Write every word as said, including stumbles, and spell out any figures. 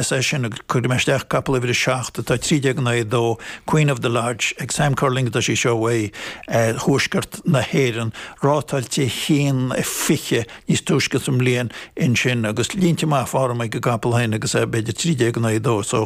Is é sin cuirfidh mé isteach capall uimhir a seacht atá trí déag in aghaidh a dó, Queen of the Lodge ag Sam Curling atá sí seo uaidh thuaisceart na hÉireann, rátáilte haon fiche níos túisce sa mbliain ansin agus línte maith form ag an gcapall féin agus é b'fhéidir trí déag in aghaidh a dó so